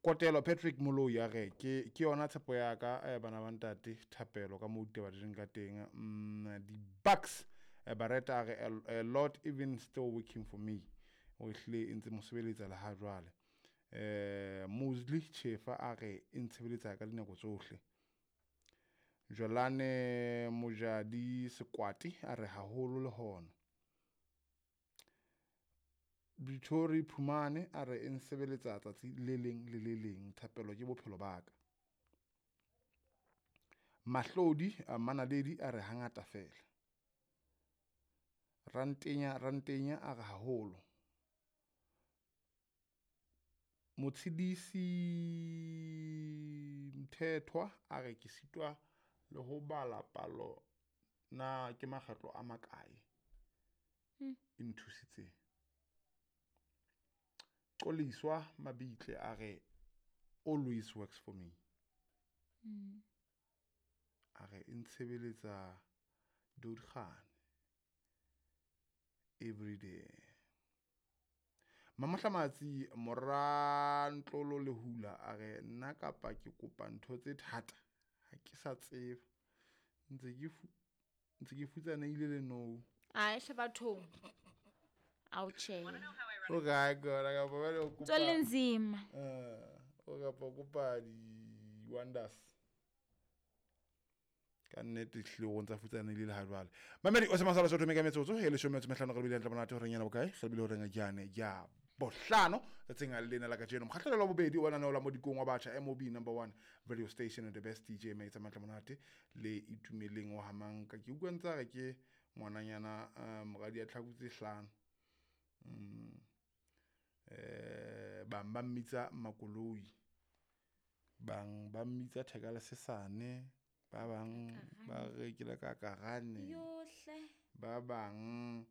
Kotelo Patrick Moloi a re ke ke yona tshepo ya ka eh, bana ba ntate thapelo ka moo ditaba di leng ka teng. Di-bucks Bareta a re a lot even still working for me, o ehlile e ntse mo sebeletsa le ha jwale. Mosley Chefa a re e ntshebeletsa ka dinako tsohle. Jolane Mojadi Sekwati a re haholo le hona. Victory Phumane a re e nsebeletsa tsatsi le leng le le leng, thapelo ke bophelo ba ka. Mahlodi a Manaledi a re hangata fela. Rantenya Rantenya a re haholo. Motshedisi Mthethwa a re ke sitwa le ho bala palo na ke makgetlo a makae e nthusitseng. Qoliswa Mabitle a re always works for me. A re e ntshebeletsa dodgane every day. Mamohlamatsi Morantlolo le hula a re nna kapa ke kopa ntho tse thata ha ke sa tseba, ntse ke futsanehile le no. Ae hle bathong. Ao tjhe. O kae kona kapa ba le kopa. Tswelle nzima. O kapa kopa di wonders. Ka nnete hlile o ntsa futsanehile le ha jwale. Mamedi o se masala sotho meka metsotso e leshome metso mehlano re bile hantle monate horeng yana bokae? Re bile horeng jane ya bohlano tsatsing lena la kajeno. Mokgahlelo wa bobedi wa lenaneo la Modikong wa batjha MOB number 1 radio station and the best DJ Maitsa Matla Monate le Itumeleng wa Hamanka. Ke utlwa ntse re ke ngwananyana moradi ya tlhaku tse hlano. Bang ba mmitsa Makoloi, bang ba mmitsa Theka le Sesane, ba bang ba re ke le ka Karane, Yohle. ba bang